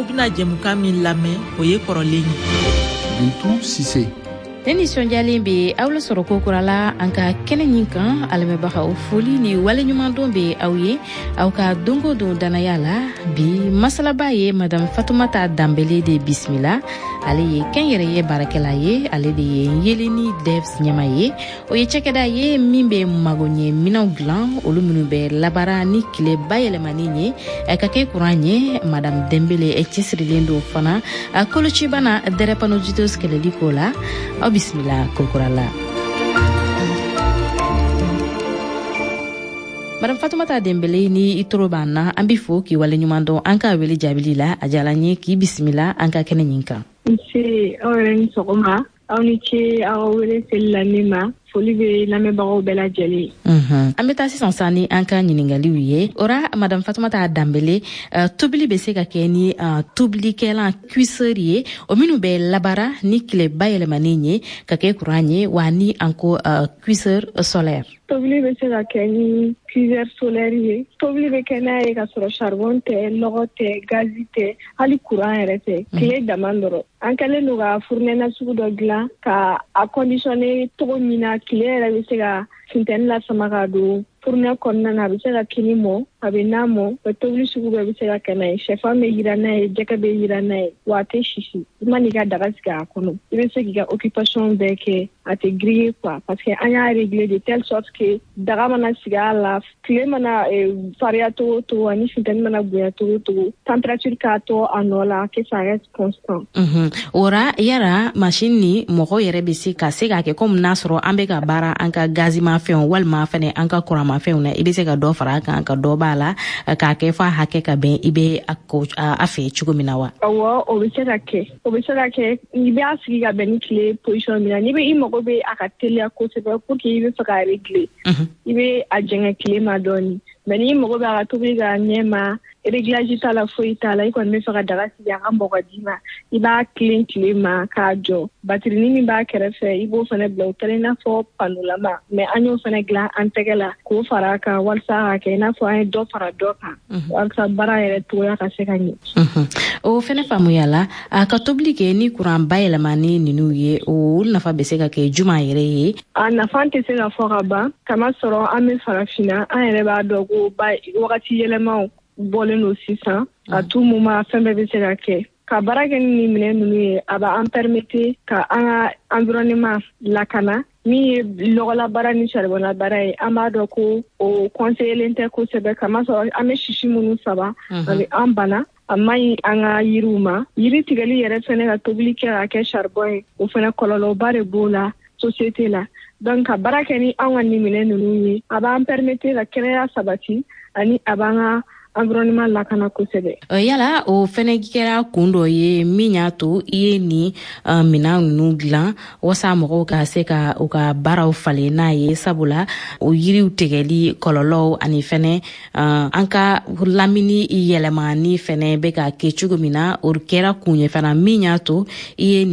Aw bɛna jɛmukan min lamɛn, o ye kɔrɔlen ye. Bintu Sise. Ne nisɔndiyalen bɛ aw lasɔrɔ ko kura la an ka kɛnɛ ɲin kan. A lamɛnbagaw, foli ni waleɲumandon bɛ aw ye aw ka don o don dannaya la. Bi masalaba ye Madame Fatumata Danbele de bisimila. Ale ye kɛnyɛrɛye baarakɛla ye, ale de ye Yeeleni Devs ɲɛma ye. O ye cakɛda ye min bɛ magoɲɛ minɛnw dilan, olu minnu bɛ labaara ni tile bayɛlɛmani ye ka kɛ kuran ye. Madame Dembele cɛsirilen don fana kolocibana drépanocytose kɛlɛli ko la. Aw bisimila kokura la. Madame Fatumata Dembele, ni i toro b'an na, an b'i fo k'i waleɲuman dɔn an ka wele jaabili la. A diyala n ye k'i bisimila an ka kɛnɛ ɲin kan. Nse, aw yɛrɛ ni sɔgɔma. Aw ni ce aw wele seli la ne ma. Foli bɛ lamɛnbagaw bɛɛ lajɛlen. An bɛ taa sisan sa ni an ka ɲiningaliw ye. O ra, Madame Fatumata Danbele, tobili bɛ se ka kɛ ni tobilikɛlan cuiseur ye, o minnu bɛ labaara ni tile bayɛlɛmanen ye ka kɛ kuran ye wa, ni an ko cuiseur solaire? Tobili bɛ se ka kɛ ni cuiseur solaire ye. Tobili bɛ kɛ n'a ye ka sɔrɔ charbon tɛ, lɔgɔ tɛ, gazi tɛ, hali courant yɛrɛ tɛ, tile dama dɔrɔn. An kɛlen don ka fournɛ nasugu dɔ dilan ka a conditionner cogo min na tile yɛrɛ bɛ se ka funtɛni lasama ka don fournɛ kɔnɔna na. A bɛ se ka kini mɔ, a bɛ na mɔ, tobili sugu bɛɛ bɛ se ka kɛ n'a ye. Sɛfan bɛ yira n'a ye, jɛgɛ bɛ yira n'a ye, wa a tɛ sisi. I man'i ka daga sigi a kɔnɔ, i bɛ se k'i ka occupation bɛɛ kɛ, a tɛ griller quoi, parce que an y'a régler de telle sorte que daga mana sigi a la, tile mana fariya cogo o cogo ani funtɛni mana bonya cogo o cogo, température k'a to a nɔ la, que ça reste constant. O ra, yala machine ni mɔgɔ yɛrɛ bɛ se ka se k'a kɛ komi n'a sɔrɔ an bɛ ka baara an ka gazimafɛnw walima fɛnɛ an ka kuranmafɛnw na, i bɛ se ka dɔ fara a kan ka dɔ b'a la k'a kɛ f'a hakɛ ka bɛn i bɛ a fɛ cogo min na wa? Awɔ, o bɛ se ka kɛ, o bɛ se ka kɛ. I b'a sigi ka bɛn ni tile position min na, n'i bɛ i mago bɛ a ka teliya kosɛbɛ pour que i bɛ fɛ k'a régler, i bɛ a jɛngɛ tile ma dɔɔni. Mais n'i mago bɛ a ka tobili ka ɲɛ ma, réglage t'a la, foyi t'a la, i kɔni bɛ fɛ ka daga sigi a ka mɔ ka d'i ma, i b'a tilen tile ma k'a jɔ. Batirini min b'a kɛrɛfɛ, i b'o fana bila. O kɛlen i n'a fɔ panolama, mais an y'o fana dilan an tɛgɛ la k'o fara a kan walasa ka kɛ i n'a fɔ an ye dɔ fara dɔ kan, walasa baara yɛrɛ cogoya ka se ka ɲɛ. O fana faamuya la. A ka tobili kɛ ni kuran bayɛlɛmani ninnu ye, o nafa bɛ se ka kɛ juma yɛrɛ ye? A nafa tɛ se ka fɔ ka ban, kamasɔrɔ an bɛ Farafinna, an yɛrɛ b'a dɔn ko wagati yɛlɛmaw bɔlen don sisan. À tout moment fɛn bɛɛ bɛ se ka kɛ. Ka baara kɛ ni nin minɛn ninnu ye, a b'an permettre ka an ka environnement lakana. Min ye lɔgɔla ni charbon baara ye, an b'a dɔn ko o conseillelen tɛ kosɛbɛ, kamasɔrɔ an bɛ sisi minnu sama, a bɛ an bana, a man ɲi an ka yiriw ma. Yiri tigɛli yɛrɛ fɛnɛ ka tobili kɛ ka kɛ charbon ye, o fɛnɛ kɔlɔlɔba de b'o la société la. Donc ka baara kɛ ni an ka nin minɛn ninnu ye, a b'an permettre ka kɛnɛya sabati ani a b'an ka environnement lakana kosɛbɛ. Yala o fɛnɛ kɛra kun dɔ ye min y'a to i ye nin minan ninnu dilan wasa mɔgɔw ka se ka u ka baaraw falen n'a ye, sabula o yiriw tigɛli kɔlɔlɔw ani fɛnɛ an ka lamini yɛlɛmani fɛnɛ bɛ ka kɛ cogo min na, o kɛra kun ye fana min y'a to i ye nin